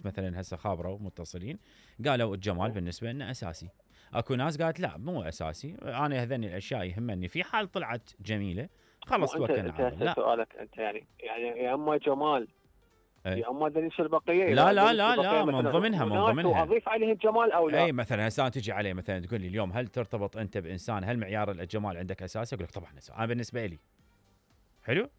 مثلا هسه خابروا متصلين قالوا الجمال بالنسبه لنا اساسي. اكو ناس قالت لا مو اساسي، انا هذني الاشياء يهمني في حال طلعت جميله خلص توكلنا على الله. لا سؤالك انت يعني يا اما جمال يا اما دنيش البقيه. لا من ضمنها واضيف عليه الجمال او لا. اي مثلا هسه تجي عليه مثلا تقول لي اليوم هل ترتبط انت بانسان، هل معيار الجمال عندك اساسي؟ اقول لك طبعا اساسي. انا بالنسبه لي حلو.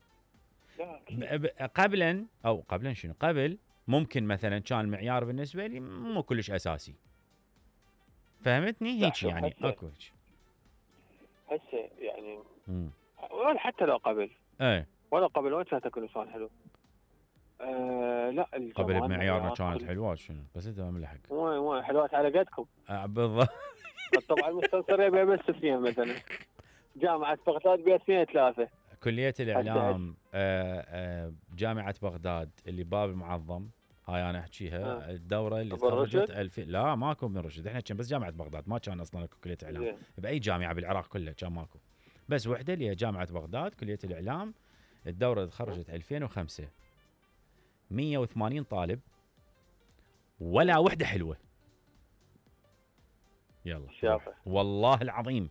قبلا شنو؟ قبل ممكن مثلا كان المعيار بالنسبه لي مو كلش اساسي، فهمتني؟ هيك يعني اكو هيك هسه يعني ولا حتى لو قبل ولا قبل وين كانت تكون انسان حلو. لا قبل بمعيارنا كانت حلوات شنو؟ بس انت ما ملحق مو حلوات على قدكم. بالضبط. طبعا المستنصريه بها بس اثنين مثلا، جامعه بغداد بها اثنين ثلاثه. كليه الاعلام جامعه بغداد اللي باب المعظم هاي انا احكيها. الدوره اللي تخرجت 2000 لا ماكو ابن رشد، احنا كان بس جامعه بغداد، ما كان اصلا كليه اعلام باي جامعه بالعراق كلها كان ماكو، بس وحده اللي هي جامعه بغداد كليه الاعلام. الدوره اللي تخرجت 2005 180 طالب ولا وحده حلوه. يلا شافه والله العظيم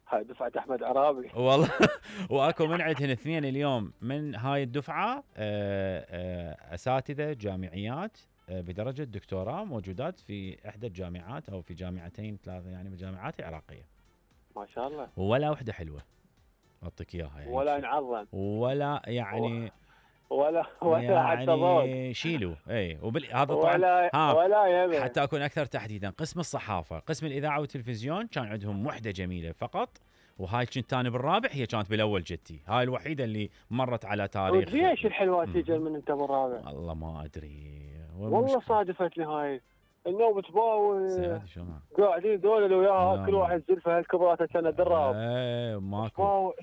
هاي دفعه احمد عرابي والله. واكو من عندهن اثنين اليوم من هاي الدفعه اساتذه جامعيات بدرجه دكتوراه موجودات في احدى الجامعات او في جامعتين ثلاثه يعني من الجامعات العراقيه. ما شاء الله. ولا وحده حلوه اعطيك اياها يعني، ولا نعظم ولا يعني ولا يعني حتى ضوء شيلوا. هذا طبعا ولا يمين. حتى اكون اكثر تحديدا قسم الصحافه، قسم الاذاعه والتلفزيون كان عندهم وحده جميله فقط، وهاي كنت ثاني بالرابع، هي كانت بالاول جدتي، هاي الوحيده اللي مرت على تاريخ. ليش الحلوات تجي من انت بالرابع؟ والله ما ادري والله صادفتني هاي النوم تباوي قاعدين ذول اللي وياها كل واحد زلفه هالكبرات سنه دراب. ماكو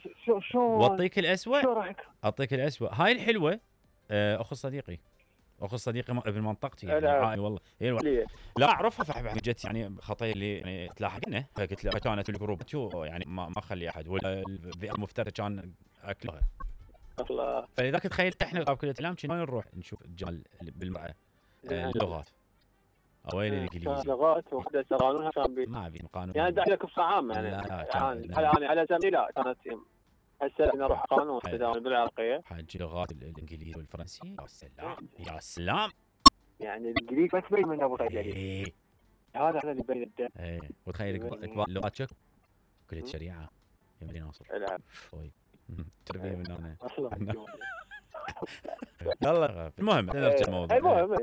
شو واعطيك الاسوء. شو رايك؟ اعطيك الاسوء. هاي الحلوه اخو صديقي ابن منطقتي يعني والله لا اعرفها فاحب جت يعني خطيه اللي يعني تلاحقنا، فقلت له كانت الجروب يعني ما اخلي احد ولا البيئه المفترض كان اكلها الله. فلذلك تخيلت احنا كليه الاعلام كنا نروح نشوف الجمال بالمراه اللغات او الانجليزي لغات وحده قانونها كان ما في قانون يعني داخله كفصه عامه يعني على زمني لا كانت هسه نروح قانون التداول بالعراقيه حاج لغات الانجليزي والفرنسي. يا سلام يا سلام يعني الانجليزي بس بين من ابو خير هذا اللي بين الدم. وتخيل اكبر اللغات شك كليه الشريعه يمدي ناصر تربيه من هنا. يلا المهم نرجع الموضوع.